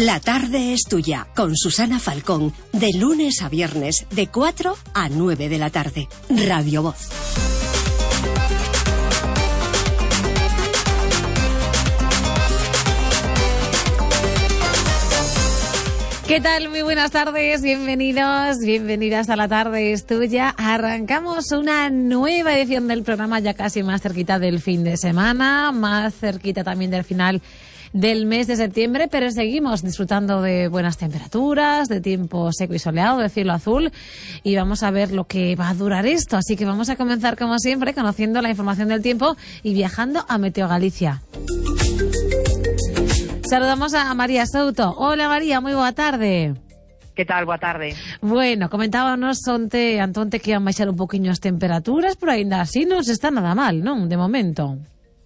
La tarde es tuya, con Susana Falcón, de lunes a viernes, de 4 a 9 de la tarde. Radio Voz. ¿Qué tal? Muy buenas tardes, bienvenidos, bienvenidas a La tarde es tuya. Arrancamos una nueva edición del programa, ya casi más cerquita del fin de semana, más cerquita también del final del mes de septiembre, pero seguimos disfrutando de buenas temperaturas, de tiempo seco y soleado, de cielo azul, y vamos a ver lo que va a durar esto. Así que vamos a comenzar, como siempre, conociendo la información del tiempo y viajando a Meteo Galicia. Saludamos a María Souto. Hola María, moi boa tarde. Que tal? Boa tarde. Bueno, comentábamos Antonte que iban baixar un poquinho as temperaturas, pero aínda así non se está nada mal, non? De momento.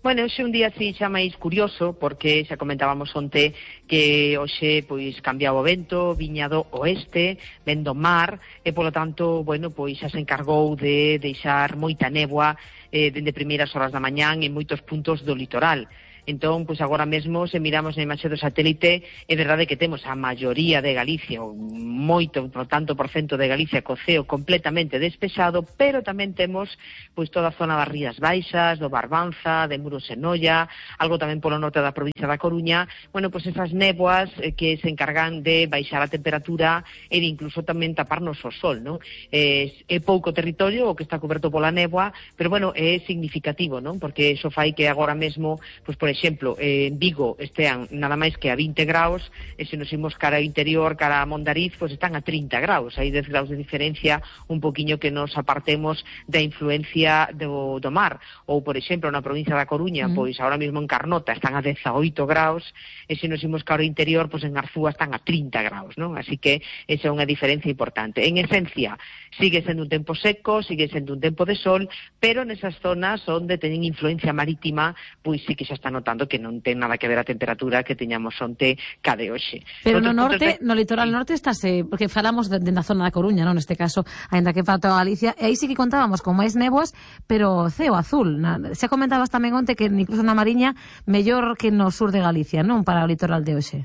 Bueno, hoxe un día así xa máis curioso, porque xa comentábamos onte que hoxe pois cambiaba o vento, viña do oeste, ven do mar, e polo tanto, bueno, pois xa se encargou de deixar moita néboa dende primeiras horas da mañán en moitos puntos do litoral. Entón, pois agora mesmo, se miramos na imaxe do satélite, é verdade que temos a maioría de Galicia, o moito, por tanto, por cento de Galicia co ceo completamente despexado, pero tamén temos pois toda a zona das Rías Baixas, do Barbanza, de Muros e Noia, algo tamén polo norte da provincia da Coruña, bueno, pois esas néboas que se encargan de baixar a temperatura e de incluso tamén taparnos o sol, non? É pouco territorio o que está coberto pola néboa, pero bueno, é significativo, non? Porque iso fai que agora mesmo, pois por exemplo, en Vigo estean nada máis que a 20 graus, e se nos imos cara ao interior, cara a Mondariz, pois están a 30 graus, hai 10 graus de diferencia, un poquinho que nos apartemos da influencia do mar. Ou, por exemplo, na provincia da Coruña, pois ahora mesmo en Carnota están a 18 graus, e se nos imos cara ao interior, pois en Arzúa están a 30 graus, non? Así que esa é unha diferencia importante. En esencia, sigue sendo un tempo seco, sigue sendo un tempo de sol, pero nesas zonas onde teñen influencia marítima, pois sí que xa está notando que non ten nada que ver a temperatura que teñamos onte ca de hoxe. Pero no norte, no litoral norte estáse, porque falamos na zona da Coruña, non, neste caso, aínda que falta a Galicia, e aí sí que contábamos con máis néboas, pero ceo azul. Xa comentabas tamén onte que incluso na Mariña mellor que no sur de Galicia, non, para o litoral de hoxe.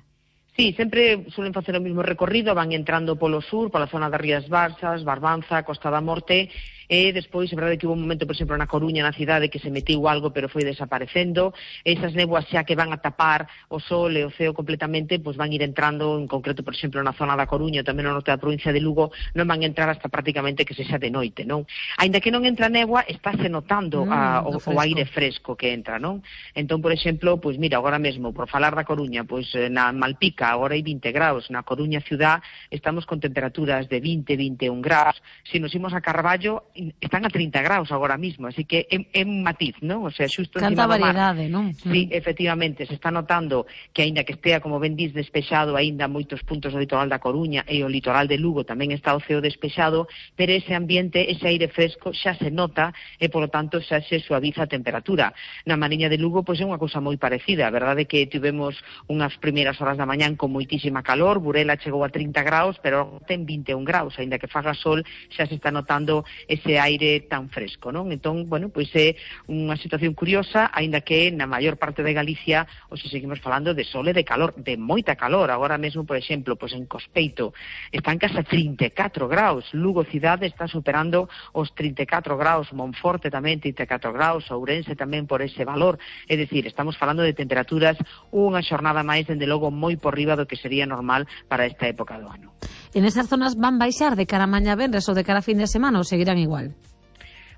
Sí, sempre suelen facer o mesmo recorrido, van entrando polo sur, pola zona das Rías Baixas, Barbanza, Costa da Morte, e despois, é verdade que hubo un momento, por exemplo, na Coruña, na cidade, que se metiu algo, pero foi desaparecendo. Esas néboas xa que van a tapar o sol e o ceo completamente, pois van ir entrando, en concreto, por exemplo, na zona da Coruña, tamén no norte da provincia de Lugo, non van entrar hasta prácticamente que sexa de noite, non? Aínda que non entra néboa, estáse notando o aire fresco que entra, non? Entón, por exemplo, pois mira, agora mesmo, por falar da Coruña, pois na Malpica, agora hai 20 graus, na Coruña ciudad estamos con temperaturas de 20-21 graus, se nos imos a Carballo están a 30 graus agora mismo, así que é un matiz, non? O sea, xusto encima do mar. Canta variedade, non? Sí, efectivamente, se está notando que aínda que estea, como ben dis, despexado aínda moitos puntos do litoral da Coruña e o litoral de Lugo tamén está o ceo despexado, pero ese ambiente, ese aire fresco xa se nota e, polo tanto, xa se suaviza a temperatura. Na Mariña de Lugo, pois é unha cousa moi parecida, a verdade é que tivemos unhas primeiras horas da mañán con moitísima calor, Burela chegou a 30 graus, pero ten 21 graus, aínda que faga sol, xa se está notando ese aire tan fresco, non? Entón, bueno, pois é unha situación curiosa, aínda que na maior parte de Galicia hoxe seguimos falando de sol e de calor, de moita calor. Agora mesmo, por exemplo, pois en Cospeito están case 34 graus, Lugo cidade está superando os 34 graus, Monforte tamén 34 graus, Ourense tamén por ese valor, é dicir, estamos falando de temperaturas unha xornada máis, dende logo, moi por riba do que sería normal para esta época do ano. En esas zonas van baixar de cara a mañá venres ou de cara a fin de semana ou seguirán igual?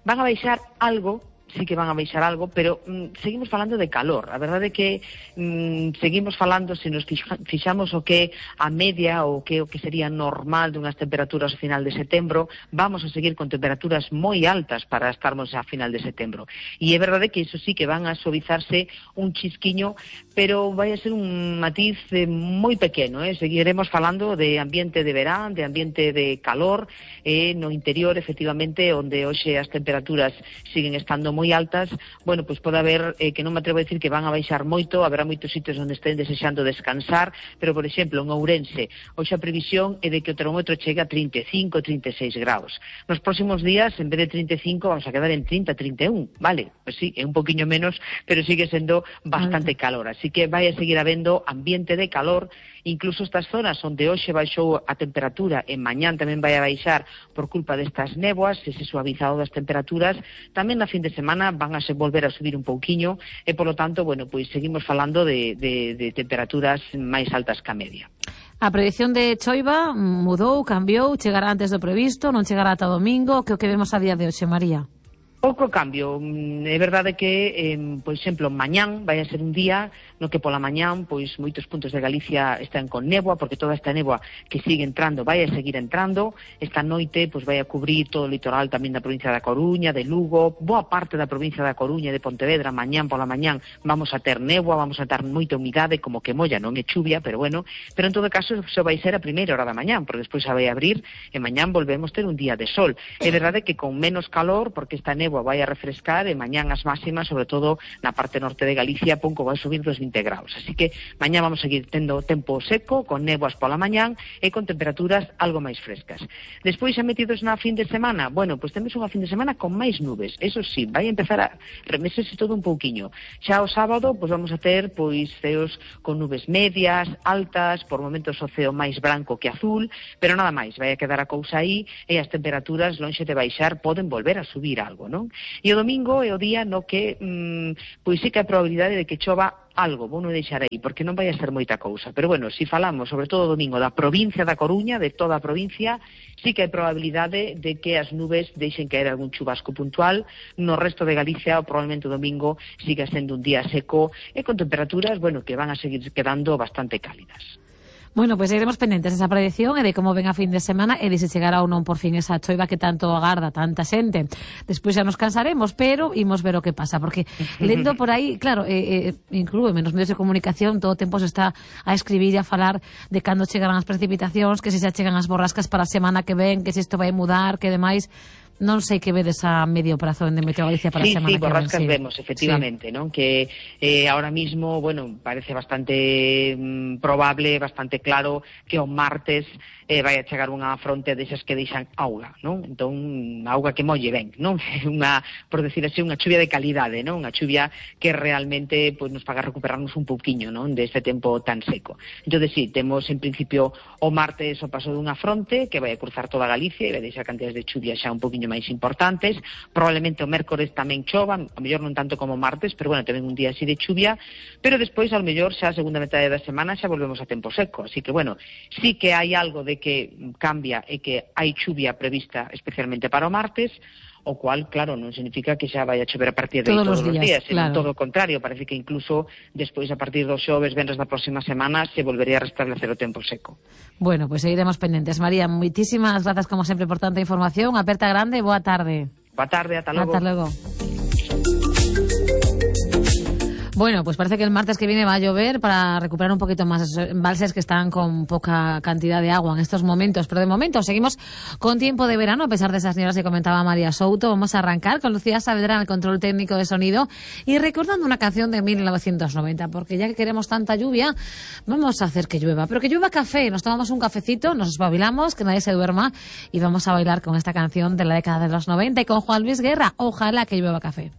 Van a baixar algo, sí que van a baixar algo, pero seguimos falando de calor. A verdade é que seguimos falando, se nos fixamos o que a media ou o que sería normal dunhas temperaturas ao final de setembro, vamos a seguir con temperaturas moi altas para estarmos a final de setembro. E é verdade que iso sí que van a suavizarse un chisquiño, pero vai a ser un matiz moi pequeno, seguiremos falando de ambiente de verán, de ambiente de calor, no interior, efectivamente, onde hoxe as temperaturas siguen estando moi altas, bueno, pois pode haber, que non me atrevo a decir que van a baixar moito, haberá moitos sitios onde estén desexando descansar, pero, por exemplo, en Ourense, hoxe a previsión é de que o termómetro chegue a 35, 36 graus. Nos próximos días, en vez de 35, vamos a quedar en 30, 31, vale? Pois sí, é un poquinho menos, pero sigue sendo bastante calor, así que vai a seguir habendo ambiente de calor, incluso estas zonas onde hoxe baixou a temperatura e mañán tamén vai a baixar por culpa destas néboas, ese suavizado das temperaturas, tamén na fin de semana van a se volver a subir un pouquiño e, polo tanto, bueno, pois seguimos falando de temperaturas máis altas que a media. A predición de choiva mudou, cambiou, chegará antes do previsto, non chegará ata domingo, que o que vemos a día de hoxe, María? Pouco cambio, é verdade que, por exemplo, mañán vai a ser un día no que pola mañán, pois moitos puntos de Galicia están con néboa, porque toda esta néboa que sigue entrando vai a seguir entrando, esta noite pois vai a cubrir todo o litoral tamén da provincia da Coruña, de Lugo, boa parte da provincia da Coruña e de Pontevedra, mañán pola mañán vamos a ter néboa, vamos a ter moita humidade, como que molla, non é chuvia, pero bueno, pero en todo caso só vai ser a primeira hora da mañán, porque despois xa vai a abrir e mañán volvemos ter un día de sol. É verdade que con menos calor, porque esta néboa vai a refrescar e mañán as máximas, sobre todo na parte norte de Galicia, pouco vai subir dos 20 graus. Así que mañán vamos a seguir tendo tempo seco, con néboas pola mañán e con temperaturas algo máis frescas. Despois, xa metidos na fin de semana, bueno, pois temos unha fin de semana con máis nubes. Eso sí, vai empezar a remesese todo un pouquiño. Xa o sábado, pois vamos a ter pois ceos con nubes medias, altas, por momentos o ceo máis branco que azul, pero nada máis, vai a quedar a cousa aí e as temperaturas lonxe de baixar poden volver a subir algo, non? E o domingo é o día no que pois sí que hai probabilidade de que chova algo, vou non deixar aí, porque non vai a ser moita cousa. Pero bueno, se falamos, sobre todo o domingo, da provincia da Coruña, de toda a provincia, sí que hai probabilidade de que as nubes deixen caer algún chubasco puntual. No resto de Galicia, probablemente o domingo siga sendo un día seco e con temperaturas, bueno, que van a seguir quedando bastante cálidas. Bueno, pois seguiremos pendentes desa predicción e de como ven a fin de semana e de se chegará ou non por fin esa choiva que tanto agarda tanta xente. Despois xa nos cansaremos, pero imos ver o que pasa, porque lendo por aí, claro, inclúeme nos medios de comunicación, todo o tempo se está a escribir e a falar de cando chegarán as precipitacións, que se xa chegan as borrascas para a semana que ven, que se isto vai mudar, que demais. Non sei que vedes a medio prazo en Meteo Galicia para a semana que ven. Borrascas vemos, efectivamente, non? Que ahora mismo, bueno, parece bastante probable, bastante claro que o martes vai a chegar unha fronte desas que deixan auga, non? Entón, auga que molle ben, non? Unha, por decir así, unha chuvia de calidade, non? Unha chuvia que realmente pues, nos faga recuperarnos un pouquiño, non? Deste tempo tan seco. Entón, sí, temos en principio o martes o paso dunha fronte que vai a cruzar toda Galicia e vai deixar cantidades de chuvia xa un pouquiño máis importantes. Probablemente o mércores tamén chova, a mellor non tanto como o martes, pero bueno, tamén un día así de chuvia, pero despois, ao mellor, xa a segunda metade da semana xa volvemos a tempo seco. Así que, bueno, sí que hai algo de que cambia e que hai chuvia prevista especialmente para o martes, o cual, claro, non significa que xa vai a chover a partir de todos os días, claro. Todo o contrario, parece que incluso despois, a partir dos xoves, venres da próxima semana, se volvería a restablecer o tempo seco. Bueno, pues seguiremos pendentes. María, moitísimas grazas como sempre por tanta información. Aperta grande, boa tarde. Boa tarde, ata logo. Ata logo. Bueno, pues parece que el martes que viene va a llover para recuperar un poquito más esos embalses que están con poca cantidad de agua en estos momentos. Pero de momento seguimos con tiempo de verano, a pesar de esas nieblas que comentaba María Souto. Vamos a arrancar con Lucía Saavedra en el control técnico de sonido y recordando una canción de 1990, porque ya que queremos tanta lluvia, vamos a hacer que llueva. Pero que llueva café, nos tomamos un cafecito, nos espabilamos, que nadie se duerma y vamos a bailar con esta canción de la década de los 90 y con Juan Luis Guerra. Ojalá que llueva café.